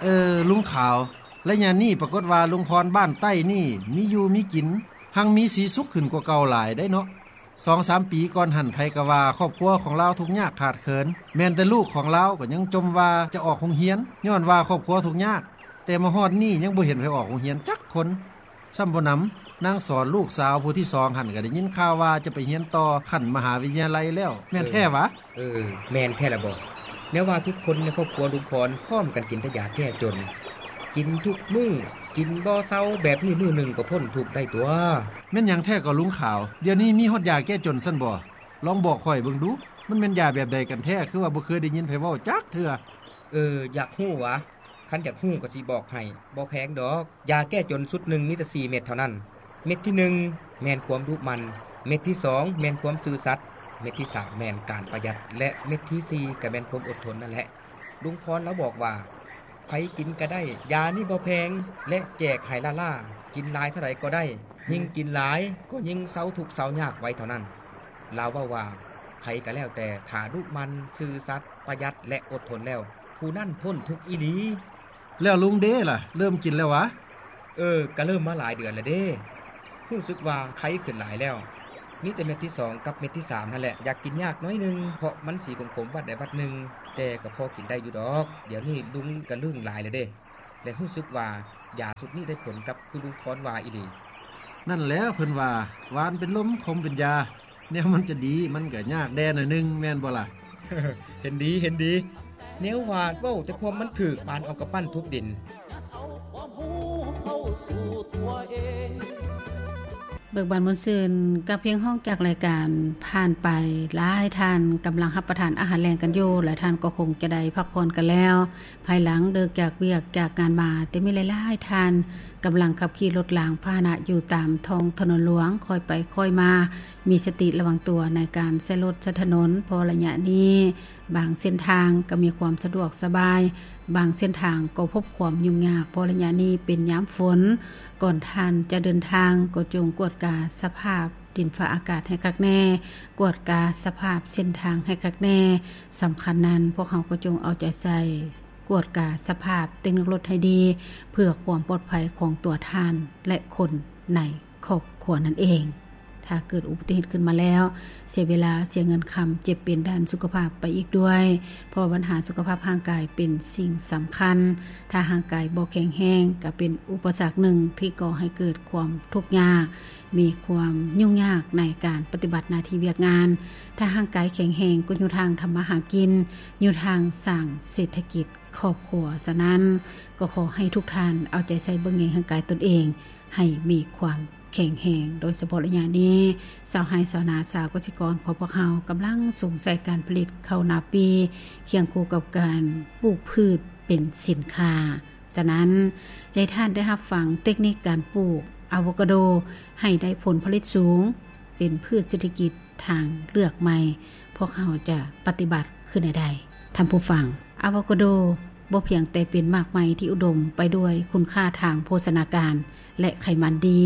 ເອີ ລຸງຂາວ, ໄລຍະນີ້ປາກົດວ່າລຸງພອນບ້ານໃຕ້ນີ້ມີຢູ່ມີກິນ, ຮັ່ງມີສີສຸກຂຶ້ນກວ່າເກົ່າຫຼາຍໄດ໋ເນາະ. ສອງສາມປີກ່ອນຫັ້ນ ໃຜກໍວ່າຄອບຄົວຂອງລາວທຸກຍາກຂາດເຂີນ, ແມ່ນແຕ່ລູກຂອງລາວກໍຍັງຈົ່ມວ່າຈະອອກໂຮງຮຽນ ຍ້ອນວ່າຄອບຄົວທຸກຍາກ, ແຕ່ມາຮອດນີ້ຍັງບໍ່ເຫັນໃຜອອກໂຮງຮຽນຈັກຄົນ. ຊ້ຳບໍ່ໜຳ, ນາງສອນລູກສາວຜູ້ທີສອງຫັ້ນ ກໍໄດ້ຍິນຂ່າວວ່າຈະໄປຮຽນຕໍ່ຂັ້ນມະຫາວິທະຍາໄລແລ້ວ, ແມ່ນແທ້ຫວາ? ເອີ ແມ່ນແທ້ລະບໍ. ແນວວ່າທຸກຄົນໃນຄອບຄົວລຸງພອນພ້ອມກັນກິນແຕ່ຢາແກ້ຈົນ, ກິນທຸກມື້, ກິນບໍ່ເຊົາ, ແບບນີ້ມື້ໜຶ່ງກໍພົ້ນທຸກໄດ້ຕົວະ. ແມ່ນຫຍັງແທ້ກໍລຸງຂາວ? ດຽວນີ້ມີຮອດຢາແກ້ຈົນຊັ້ນບໍ? ລອງບອກຂ້ອຍເບິ່ງດູ, ມັນແມ່ນຢາແບບໃດກັນແທ້? ຄືວ່າບໍ່ເຄີຍໄດ້ຍິນໃຜເວົ້າຈັກເທື່ອ. ເອີ ຢາກຮູ້ຫວາ? ຄັນຢາກຮູ້ກໍຊິບອກໃຫ້, ບໍ່ແພງດອກ. ຢາແກ້ຈົນຊຸດໜຶ່ງມີແຕ່ສີ່ເມັດເທົ່ານັ້ນ. ເມັດທີໜຶ່ງແມ່ນຄວາມດຸໝັ່ນ, ເມັດທີສອງແມ່ນຄວາມຊື່ສັດ, ເມັດທີສາມແມ່ນການປະຢັດ ແລະ ເມັດທີສີ່ກໍແມ່ນຄວາມອົດທົນນັ້ນແຫຼະ. ລຸງພອນລາວບອກວ່າ ໃຜກິນກໍໄດ້, ຢານີ້ບໍ່ແພງ ແລະ ແຈກໃຫ້ລ້າໆ, ກິນຫຼາຍເທົ່າໃດກໍໄດ້, ຍິ່ງກິນຫຼາຍກໍຍິ່ງເຊົາທຸກເຊົາຍາກໄວເທົ່ານັ້ນ. ລາວເວົ້າວ່າ ໃຜກໍແລ້ວແຕ່ ຖ້າດຸໝັ່ນ, ຊື່ສັດ, ປະຢັດ ແລະ ອົດທົນແລ້ວ, ຜູ້ນັ້ນພົ້ນທຸກອີ່ຫຼີ. ແລ້ວລຸງເດລະ ເລີ່ມກິນແລ້ວຫວາ? ເອີ ກະເລີ່ມມາຫຼາຍເດືອນແລ້ວເດ້. ຮູ້ສຶກວ່າໄຄຂຶ້ນຫຼາຍແລ້ວ. ມີແຕ່ເມັດທີສອງກັບເມັດທີສາມຫັ້ນແຫຼະ ຢາກກິນຍາກໜ້ອຍໜຶ່ງ ເພາະມັນສີຂົມໆວັດໃດວັດໜຶ່ງ, ແຕ່ກໍພໍກິນໄດ້ຢູ່ດອກ. ດຽວນີ້ລຸງກະລຶ້ງຫຼາຍແລ້ວເດ້ ແລະ ຮູ້ສຶກວ່າຢາຊຸດນີ້ໄດ້ຜົນກັບຄືລຸງພອນວ່າອີ່ຫຼີ. ນັ້ນແຫຼະ ເພິ່ນວ່າ ຫວານເປັນລົມ ຂົມເປັນຢາ. ແນວມັນຈະດີ ມັນກະຍາກແດ່ໜ້ອຍໜຶ່ງ ແມ່ນບໍ່ລະ? ເຫັນດີ ເຫັນດີ. ແນວວ່າເວົ້າແຕ່ຄວາມມັນຖືກ ປານເອົາກຳປັ້ນທຸບດິນ. ເບີກບານມ່ວນຊື່ນກັບພຽງຮ້ອງຈາກລາຍການຜ່ານໄປ. ຫຼາຍທ່ານກຳລັງຮັບປະທານອາຫານແລງກັນຢູ່ ແລະ ທ່ານກໍຄົງຈະໄດ້ພັກຜ່ອນກັນແລ້ວ. ພາຍຫຼັງເລີກຈາກວຽກຈາກງານມາ, ແຕ່ມີຫຼາຍໆທ່ານກຳລັງຂັບຂີ່ລົດລາງພາຫະນະຢູ່ຕາມທ້ອງຖະໜົນຫຼວງ, ຄ່ອຍໄປຄ່ອຍມາ, ມີສະຕິລະວັງຕົວໃນການໃຊ້ລົດໃຊ້ຖະໜົນ, ເພາະໄລຍະນີ້ບາງເສັ້ນທາງກໍມີຄວາມສະດວກສະບາຍ, ບາງເສັ້ນທາງກໍພົບຄວາມຫຍຸ້ງຍາກ, ເພາະໄລຍະນີ້ເປັນຍາມຝົນ. ກ່ອນທ່ານຈະເດີນທາງ, ກໍຈົ່ງກວດກາສະພາບດິນຟ້າອາກາດໃຫ້ຄັກແນ່, ກວດກາສະພາບເສັ້ນທາງໃຫ້ຄັກແນ່. ສຳຄັນນັ້ນ, ພວກເຮົາກໍຈົ່ງເອົາໃຈໃສ່ ກວດກາສະພາບເຕັກນິກລົດໃຫ້ດີ ເພື່ອຄວາມປອດໄພຂອງຕົວທ່ານ ແລະ ຄົນໃນຄອບຄົວນັ້ນເອງ. ຖ້າເກີດອຸບັດຕິເຫດຂຶ້ນມາແລ້ວ, ເສຍເວລາ, ເສຍເງິນຄຳ, ເຈັບເປັນດ້ານສຸຂະພາບໄປອີກດ້ວຍ, ເພາະບັນຫາສຸຂະພາບຮ່າງກາຍເປັນສິ່ງສຳຄັນ. ຖ້າຮ່າງກາຍບໍ່ແຂງແຮງ, ກໍເປັນອຸປະສັກໜຶ່ງທີ່ກໍ່ໃຫ້ເກີດຄວາມທຸກຍາກ, ມີຄວາມຫຍຸ້ງຍາກໃນການປະຕິບັດໜ້າທີ່ວຽກງານ. ຖ້າຮ່າງກາຍແຂງແຮງ, ກໍຢູ່ທາງທຳມາຫາກິນ, ຢູ່ທາງສ້າງເສດຖະກິດ ຄອບຄົວ. ສະນັ້ນ, ກໍຂໍໃຫ້ທຸກທ່ານເອົາໃຈໃສ່ເບິ່ງແຍງຮ່າງກາຍຕົນເອງໃຫ້ມີຄວາມແຂງແຮງ, ໂດຍສະເພາະໄລຍະນີ້, ຊາວໄຮ່ຊາວນາ, ຊາວກະສິກອນຂອງພວກເຮົາກຳລັງສຸມໃສ່ການຜະລິດເຂົ້ານາປີ, ຄຽງຄູ່ກັບການປູກພືດເປັນສິນຄ້າ. ສະນັ້ນ, ຈະໃຫ້ທ່ານໄດ້ຮັບຟັງເຕັກນິກການປູກອາໂວກາໂດໃຫ້ໄດ້ຜົນຜະລິດສູງ, ເປັນພືດເສດຖະກິດ ທາງເລືອກໃໝ່ ພວກເຮົາຈະປະຕິບັດຄືແນວໃດ? ທ່ານຜູ້ຟັງ, ອາໂວກາໂດບໍ່ພຽງແຕ່ເປັນໝາກໄມ້ທີ່ອຸດົມໄປດ້ວຍຄຸນຄ່າທາງໂພຊະນາການ ແລະ ໄຂມັນດີ,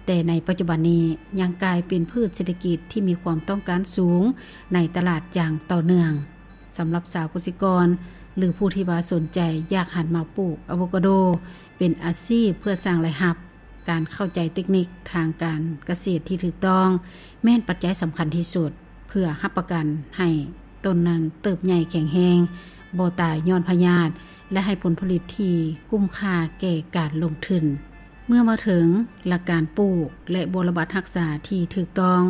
ແຕ່ໃນປັດຈຸບັນນີ້ຍັງກາຍເປັນພືດເສດຖະກິດທີ່ມີຄວາມຕ້ອງການສູງໃນຕະຫຼາດຢ່າງຕໍ່ເນື່ອງ. ສຳລັບຊາວກະສິກອນ ຫຼື ຜູ້ທີ່ວ່າສົນໃຈຢາກຫັນມາປູກອາໂວກາໂດເປັນອາຊີບເພື່ອສ້າງລາຍຮັບ, ການເຂົ້າໃຈເຕັກນິກທາງການກະເສດທີ່ຖືກຕ້ອງ ແມ່ນປັດໄຈສຳຄັນທີ່ສຸດ ເພື່ອຮັບປະກັນໃຫ້ຕົ້ນນັ້ນເຕີບໃຫຍ່ແຂງແຮງ, ບໍ່ຕາຍຍ້ອນພະຍາດ ແລະ ໃຫ້ຜົນຜະລິດທີ່ກຸ້ມຄ່າແກ່ການລົງທຶນ. ເມື່ອມາເຖິງຫຼັກການປູກ ແລະ ບົວລະບັດຮັກສາທີ່ຖືກຕ້ອງ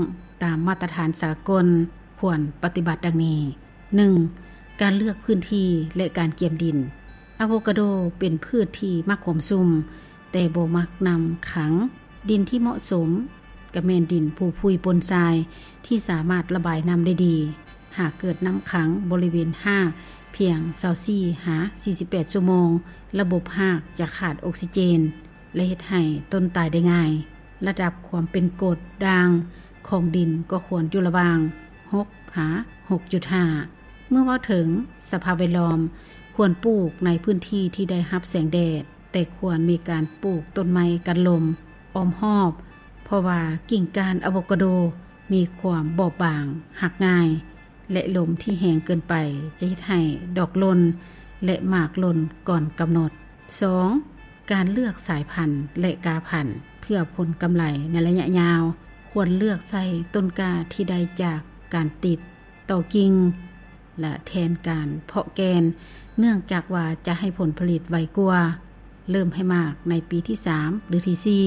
ຕາມມາດຕະຖານສາກົນ, ຄວນປະຕິບັດດັ່ງນີ້. ໜຶ່ງ, ການເລືອກພື້ນທີ່ ແລະ ການກຽມດິນ. ອາໂວກາໂດເປັນພືດທີ່ມັກຄວາມຊຸ່ມ, ແຕ່ບໍ່ມັກນ້ຳຂັງ. ດິນທີ່ເໝາະສົມກໍແມ່ນດິນຜູຜຸຍປົນຊາຍ ທີ່ສາມາດລະບາຍນ້ຳໄດ້ດີ. ຫາກເກີດນ້ຳຂັງບໍລິເວນຮາກພຽງຊາວສີ່ຫາສີ່ສິບແປດຊົ່ວໂມງ, ລະບົບຮາກຈະຂາດອົກຊີເຈນ ແລະ ເຮັດໃຫ້ຕົ້ນຕາຍໄດ້ງ່າຍ. ລະດັບຄວາມເປັນກົດດ່າງຂອງດິນກໍຄວນຢູ່ລະຫວ່າງຫົກຫາຫົກຈຸດຫ້າ. ເມື່ອເວົ້າເຖິງສະພາບແວດລ້ອມ, ຄວນປູກໃນພື້ນທີ່ທີ່ໄດ້ຮັບແສງແດດ, ແຕ່ຄວນມີການປູກຕົ້ນໄມ້ກັນລົມອ້ອມຮອບ, ເພາະວ່າກິ່ງກ້ານອາໂວກາໂດມີຄວາມບອບບາງ, ຫັກງ່າຍ ແລະ ລົມທີ່ແຮງເກີນໄປຈະເຮັດໃຫ້ດອກຫຼົ່ນ ແລະ ໝາກຫຼົ່ນກ່ອນກຳນົດ. ສອງ ການເລືອກສາຍພັນ ແລະ ກ້າພັນ ເພື່ອຜົນກຳໄລໃນໄລຍະຍາວ ຄວນເລືອກໃຊ້ຕົ້ນກ້າທີ່ໄດ້ຈາກການຕິດຕໍ່ກິ່ງ ແລະ ແທນການເພາະແກ່ນ ເນື່ອງຈາກວ່າຈະໃຫ້ຜົນຜະລິດໄວກວ່າ, ເລີ່ມໃຫ້ໝາກໃນປີທີສາມ ຫຼື ທີສີ່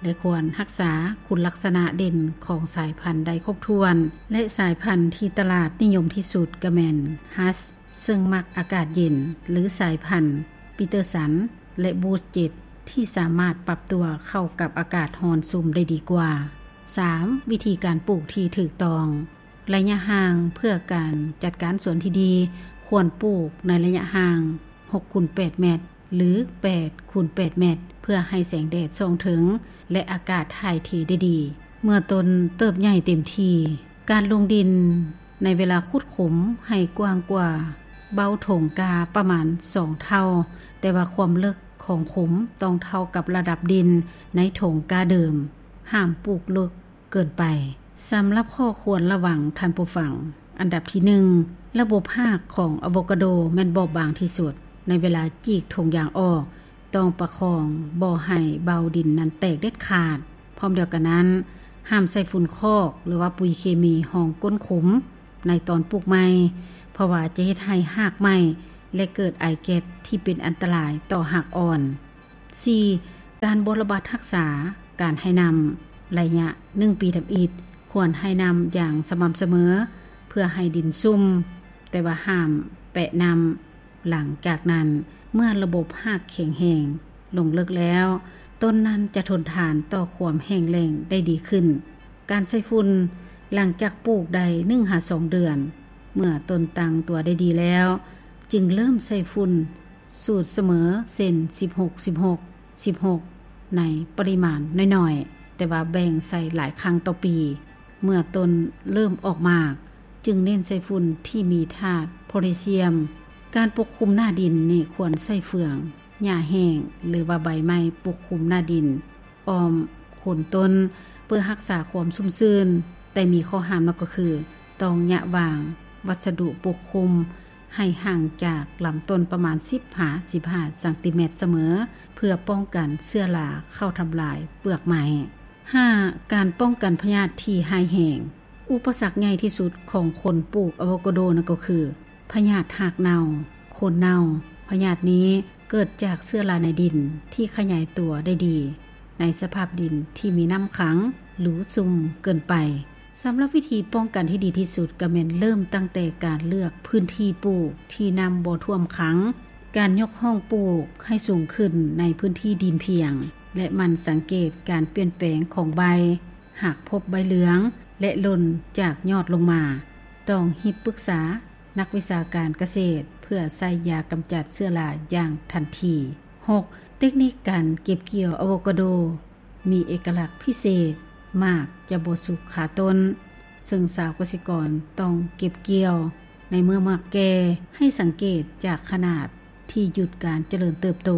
ແລະ ຄວນຮັກສາຄຸນລັກສະນະເດັ່ນຂອງສາຍພັນໄດ້ຄົບຖ້ວນ ແລະ ສາຍພັນທີ່ຕະຫຼາດນິຍົມທີ່ສຸດກໍແມ່ນ Hass ເຊິ່ງມັກອາກາດເຢັນ ຫຼື ສາຍພັນ Peterson ແລະ Booth ເຈັດ ທີ່ສາມາດປັບຕົວເຂົ້າກັບອາກາດຮ້ອນຊຸ່ມໄດ້ດີກວ່າ. ສາມ ວິທີການປູກທີ່ຖືກຕ້ອງ. ໄລຍະຫ່າງເພື່ອການຈັດການສວນທີ່ດີ ຄວນປູກໃນໄລຍະຫ່າງ ຫົກຄູນແປດແມັດ ຫຼື ແປດຄູນແປດແມັດ ເພື່ອໃຫ້ແສງແດດສ່ອງເຖິງ ແລະ ອາກາດຖ່າຍເທໄດ້ດີ. ເມື່ອຕົ້ນເຕີບໃຫຍ່ເຕັມທີ່, ການລົງດິນໃນເວລາຂຸດຂຸມໃຫ້ກວ້າງກວ່າເບົ້າຖົງກ້າປະມານສອງເທົ່າ, ແຕ່ວ່າຄວາມເລິກຂອງຂຸມຕ້ອງເທົ່າກັບລະດັບດິນໃນຖົງກ້າເດີມ. ຫ້າມປູກເລິກເກີນໄປ. ສຳລັບຂໍ້ຄວນລະວັງ, ທ່ານຜູ້ຟັງ, ອັນດັບທີໜຶ່ງ, ລະບົບຮາກຂອງອາໂວກາໂດແມ່ນບອບບາງທີ່ສຸດ. ໃນເວລາຈີກຖົງຢາງອອກ, ຕ້ອງປະຄອງບໍ່ໃຫ້ເບົ້າດິນນັ້ນແຕກເດັດຂາດ. ພ້ອມດຽວກັນນັ້ນ, ຫ້າມໃສ່ຝຸ່ນຄອກ ຫຼືວ່າປຸ໋ຍເຄມີຮອງກົ້ນຂຸມໃນຕອນປູກໃໝ່, ເພາະວ່າຈະເຮັດໃຫ້ຮາກໄໝ້ ແລະ ເກີດໄອແກັສທີ່ເປັນອັນຕະລາຍຕໍ່ຮາກອ່ອນ. ສີ່, ການບໍ່ລະບັດຮັກສາການໃຫ້ນ້ຳ. ໄລຍະໜຶ່ງປີທຳອິດ, ຄວນໃຫ້ນ້ຳຢ່າງສະໝ່ຳສະເໝີ ເພື່ອໃຫ້ດິນຊຸ່ມ, ແຕ່ວ່າຫ້າມແປະນ້ຳ. ຫຼັງຈາກນັ້ນ, ເມື່ອລະບົບຮາກແຂງແຮງລົງເລິກແລ້ວ, ຕົ້ນນັ້ນຈະທົນທານຕໍ່ຄວາມແຫ້ງແລ້ງໄດ້ດີຂຶ້ນ. ການໃສ່ຝຸ່ນ, ຫຼັງຈາກປູກໄດ້ໜຶ່ງຫາສອງເດືອນ, ເມື່ອຕົ້ນຕັ້ງຕົວໄດ້ດີແລ້ວ, ຈຶ່ງເລີ່ມໃສ່ຝຸ່ນ ສູດສະເໝີເຊັ່ນ ສິບຫົກ ສິບຫົກ ສິບຫົກ ໃນປະລິມານນ້ອຍໆ, ແຕ່ວ່າແບ່ງໃສ່ຫຼາຍຄັ້ງຕໍ່ປີ. ເມື່ອຕົ້ນເລີ່ມອອກໝາກ, ຈຶ່ງເນັ້ນໃສ່ຝຸ່ນທີ່ມີທາດໂພແທສຊຽມ. ການປົກຄຸມໜ້າດິນນີ້ຄວນໃຊ້ເຟືອງ, ຫຍ້າແຫ້ງ ຫຼືວ່າໃບໄມ້ປົກຄຸມໜ້າດິນ ອ້ອມໂຄນຕົ້ນ ເພື່ອຮັກສາຄວາມຊຸ່ມຊື່ນ, ແຕ່ມີຂໍ້ຫ້າມນັ້ນກໍຄື ຕ້ອງຍະວາງວັດສະດຸປົກຄຸມໃຫ້ຫ່າງຈາກລຳຕົ້ນປະມານສິບຫາສິບຫ້າຊັງຕີແມັດສະເໝີ ເພື່ອປ້ອງກັນເຊື້ອລາເຂົ້າທຳລາຍເປືອກໄມ້. ຫ້າ, ການປ້ອງກັນພະຍາດທີ່ຮ້າຍແຮງ. ອຸປະສັກໃຫຍ່ທີ່ສຸດຂອງຄົນປູກອາໂວກາໂດນັ້ນກໍຄື ພະຍາດຮາກເນົ່າ, ໂຄນເນົ່າ. ພະຍາດນີ້ເກີດຈາກເຊື້ອລາໃນດິນທີ່ຂະຫຍາຍຕົວໄດ້ດີ ໃນສະພາບດິນທີ່ມີນ້ຳຂັງ ຫຼື ຊຸ່ມເກີນໄປ. ສຳລັບວິທີປ້ອງກັນທີ່ດີທີ່ສຸດກໍແມ່ນເລີ່ມຕັ້ງແຕ່ການເລືອກພື້ນທີ່ປູກທີ່ນ້ຳບໍ່ຖ້ວມຂັງ, ການຍົກຮ່ອງປູກໃຫ້ສູງຂຶ້ນໃນພື້ນທີ່ດິນພຽງ ແລະ ໝັ່ນສັງເກດການປ່ຽນແປງຂອງໃບ, ຫາກພົບໃບເຫຼືອງ ແລະ ຫຼົ່ນຈາກຍອດລົງມາ, ຕ້ອງຮີບປຶກສາ ນັກວິຊາການກະເສດເພື່ອໃຊ້ຢາກຳຈັດເຊື້ອລາຢ່າງທັນທີ. ຫົກ, ເຕັກນິກການເກັບກ່ຽວອາໂວກາໂດມີເອກະລັກພິເສດ, ໝາກຈະບໍ່ສຸກຄາຕົ້ນ, ເຊິ່ງຊາວກະສິກອນຕ້ອງເກັບກ່ຽວໃນເມື່ອໝາກແກ່. ໃຫ້ສັງເກດຈາກຂະໜາດທີ່ຢຸດການຈະເລີນເຕີບໂຕ,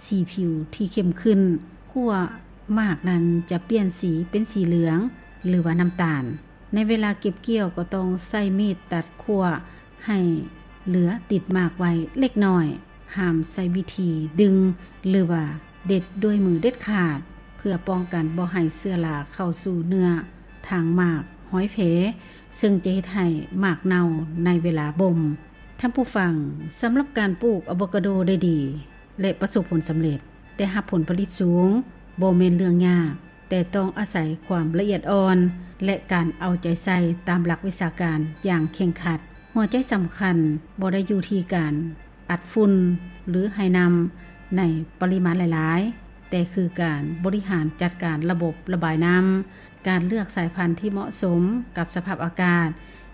ສີຜິວທີ່ເຂັ້ມຂຶ້ນ, ຂົ້ວໝາກນັ້ນຈະປ່ຽນສີເປັນສີເຫຼືອງ ຫຼືວ່ານ້ຳຕານ. ໃນເວລາເກັບກ່ຽວກໍຕ້ອງໃຊ້ມີດຕັດຂົ້ວໃຫ້ເຫຼືອຕິດໝາກໄວ້ເລັກນ້ອຍ. ຫ້າມໃຊ້ວິທີດຶງ ຫຼືວ່າເດັດດ້ວຍມືເດັດຂາດ ເພື່ອປ້ອງກັນບໍ່ໃຫ້ເຊື້ອລາເຂົ້າສູ່ເນື້ອທາງໝາກ, ຮອຍແຜ, ເຊິ່ງຈະເຮັດໃຫ້ໝາກເນົ່າໃນເວລາບົ່ມ. ທ່ານຜູ້ຟັງ, ສຳລັບການປູກອາໂວກາໂດໄດ້ດີ ແລະ ປະສົບຜົນສຳເລັດ ແຕ່ຮັບຜົນຜະລິດສູງ ບໍ່ແມ່ນເລື່ອງຍາກ, ແຕ່ຕ້ອງອາໄສຄວາມລະອຽດອ່ອນ ແລະ ການເອົາໃຈໃສ່ຕາມຫຼັກວິຊາການຢ່າງເຄັ່ງຄັດ. ຫົວໃຈສຳຄັນບໍ່ໄດ້ຢູ່ທີ່ການອັດຝຸ່ນ ຫຼື ໃຫ້ນ້ຳໃນປະລິມານຫຼາຍໆ, ແຕ່ຄືການບໍລິຫານຈັດການລະບົບລະບາຍນ້ຳ, ການເລືອກສາຍພັນທີ່ເໝາະສົມກັບສະພາບອາກາດ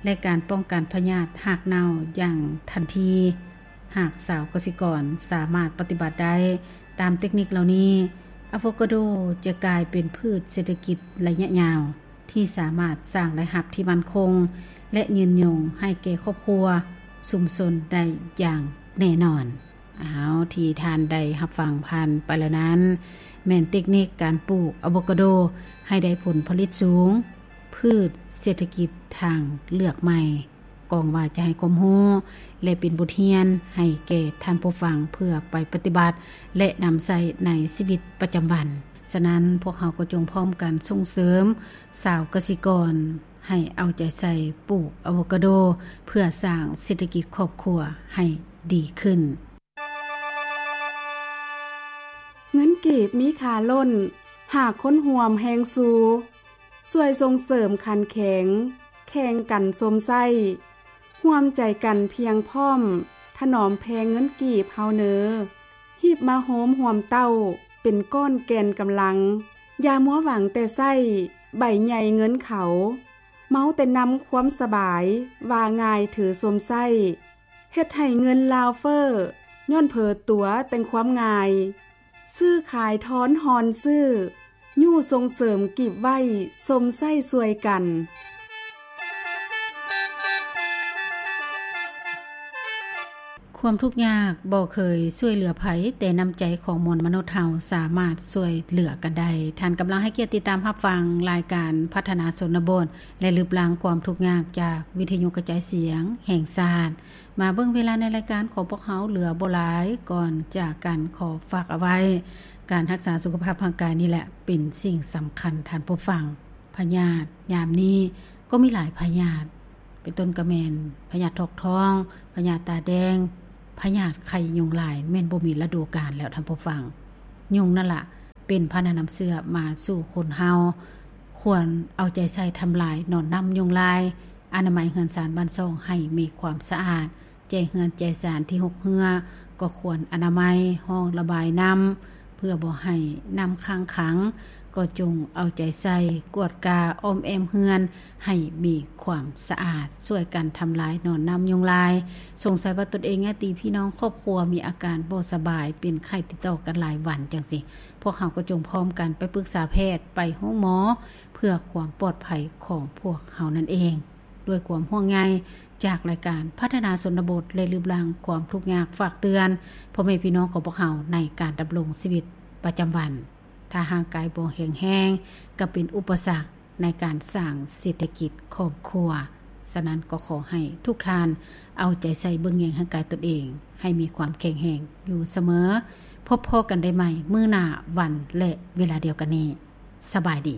ແລະ ການປ້ອງກັນພະຍາດຮາກເນົ່າຢ່າງທັນທີ. ຫາກຊາວກະສິກອນສາມາດປະຕິບັດໄດ້ຕາມເຕັກນິກເຫຼົ່ານີ້, ອາໂວກາໂດຈະກາຍເປັນພືດເສດຖະກິດໄລຍະຍາວ ທີ່ສາມາດສ້າງລາຍຮັບທີ່ໝັ້ນຄົງ ແລະ ຍືນຍົງໃຫ້ແກ່ຄອບຄົວ, ຊຸມຊົນໄດ້ຢ່າງແນ່ນອນ. ເອົາ, ທີ່ທ່ານໄດ້ຮັບຟັງຜ່ານໄປແລ້ວນັ້ນ ແມ່ນເຕັກນິກການປູກອາໂວກາໂດໃຫ້ໄດ້ຜົນຜະລິດສູງ, ພືດເສດຖະກິດທາງເລືອກໃໝ່. ກອງວ່າຈະໃຫ້ຄວາມຮູ້ ແລະ ເປັນບົດຮຽນໃຫ້ແກ່ທ່ານຜູ້ຟັງ ເພື່ອໄປປະຕິບັດ ແລະ ນຳໃຊ້ໃນຊີວິດປະຈຳວັນ. ສະນັ້ນ, ພວກເຮົາກໍຈົ່ງພ້ອມກັນສົ່ງເສີມຊາວກະສິກອນ ໃຫ້ເອົາໃຈໃສ່ປູກອາໂວກາໂດ ເພື່ອສ້າງເສດຖະກິດຄອບຄົວໃຫ້ດີຂຶ້ນ. ເງິນກີບມີຄ່າລົ້ນ ຫາກຄົນຮ່ວມແຮງຊູ ຊ່ວຍສົ່ງເສີມຂັນແຂງ ແຂ່ງກັນຊົມໃຊ້ ຮ່ວມໃຈກັນພຽງພ້ອມ ຖະໜອມແພງເງິນກີບເຮົາເນີ ຮີບມາໂຮມຮ່ວມເຕົ້າ ເປັນກ້ອນແກ່ນກຳລັງ ຢ່າມົວຫວັງແຕ່ໃຊ້ ໃບໃຫຍ່ເງິນເຂົາ ເມົາແຕ່ນຳຄວາມສະບາຍ ວ່າງ່າຍຖືຊົມໃຊ້ ເຮັດໃຫ້ເງິນລາວເຟີ້ ຍ້ອນເຜີຕົວແຕ່ງຄວາມງ່າຍ ຊື້ຂາຍທອນຮອນຊື້ ຍູ້ສົ່ງເສີມກີບໄວ້ຊົມໃຊ້ຊ່ວຍກັນ. ຄວາມທຸກຍາກບໍ່ເຄີຍຊ່ວຍເຫຼືອໃຜ, ແຕ່ນ້ຳໃຈຂອງມວນມະນຸດເຮົາສາມາດຊ່ວຍເຫຼືອກັນໄດ້. ທ່ານກຳລັງໃຫ້ກຽດຕິດຕາມຮັບຟັງລາຍການພັດທະນາຊົນນະບົດ ແລະ ລຶບລ້າງຄວາມທຸກຍາກຈາກວິທະຍຸກະຈາຍສຽງແຫ່ງຊາດ. ມາເບິ່ງເວລາໃນລາຍການຂອງພວກເຮົາເຫຼືອບໍ່ຫຼາຍ, ກ່ອນຈາກກັນຂໍຝາກເອົາໄວ້, ການຮັກສາສຸຂະພາບຮ່າງກາຍນີ້ແຫຼະເປັນສິ່ງສຳຄັນທ່ານຜູ້ຟັງ. ພະຍາດຍາມນີ້ກໍມີຫຼາຍພະຍາດ, ເປັນຕົ້ນກໍແມ່ນພະຍາດຖອກທ້ອງ, ພະຍາດຕາແດງ, ພະຍາດໄຂ້ຍຸງລາຍ ແມ່ນບໍ່ມີລະດູການແລ້ວທ່ານຜູ້ຟັງ. ຍຸງນັ້ນລະເປັນພາຫະນະນຳເຊື້ອມາສູ່ຄົນເຮົາ, ຄວນເອົາໃຈໃສ່ທຳລາຍໜອນນ້ຳຍຸງລາຍ, ອະນາໄມເຮືອນຊານບ້ານຊ່ອງໃຫ້ມີຄວາມສະອາດ, ແຈເຮືອນແຈຊານທີ່ຮົກເຮື້ອກໍຄວນອະນາໄມຮ່ອງລະບາຍນ້ຳ ເພື່ອບໍ່ໃຫ້ນ້ຳຄ້າງຂັງ, ກໍຈົ່ງເອົາໃຈໃສ່ກວດກາອ້ອມແອ້ມເຮືອນໃຫ້ມີຄວາມສະອາດ, ຊ່ວຍກັນທຳລາຍໜອນນ້ຳຍຸງລາຍ. ສົງໄສວ່າຕົນເອງ, ຍາດຕິພີ່ນ້ອງ, ຄອບຄົວມີອາການບໍ່ສະບາຍ, ເປັນໄຂ້ຕິດຕໍ່ກັນຫຼາຍວັນຈັ່ງຊີ້, ພວກເຮົາກໍຈົ່ງພ້ອມກັນໄປປຶກສາແພດ, ໄປໂຮງໝໍ ເພື່ອຄວາມປອດໄພຂອງພວກເຮົານັ້ນເອງ. ດ້ວຍຄວາມຫ່ວງໃຍຈາກລາຍການພັດທະນາຊົນນະບົດ ແລະ ລຶບລ້າງຄວາມທຸກຍາກ, ຝາກເຕືອນພໍ່ແມ່ພີ່ນ້ອງຂອງພວກເຮົາໃນການດຳລົງຊີວິດປະຈຳວັນ. ຖ້າຮ່າງກາຍບໍ່ແຂງແຮງ, ກໍເປັນອຸປະສັກໃນການສ້າງເສດຖະກິດຄອບຄົວ. ສະນັ້ນກໍຂໍໃຫ້ທຸກທ່ານເອົາໃຈໃສ່ເບິ່ງແຍງຮ່າງກາຍຕົນເອງ ໃຫ້ມີຄວາມແຂງແຮງຢູ່ສະເໝີ. ພົບພໍ້ກັນໄດ້ໃໝ່ມື້ໜ້າ, ວັນ ແລະ ເວລາດຽວກັນນີ້. ສະບາຍດີ.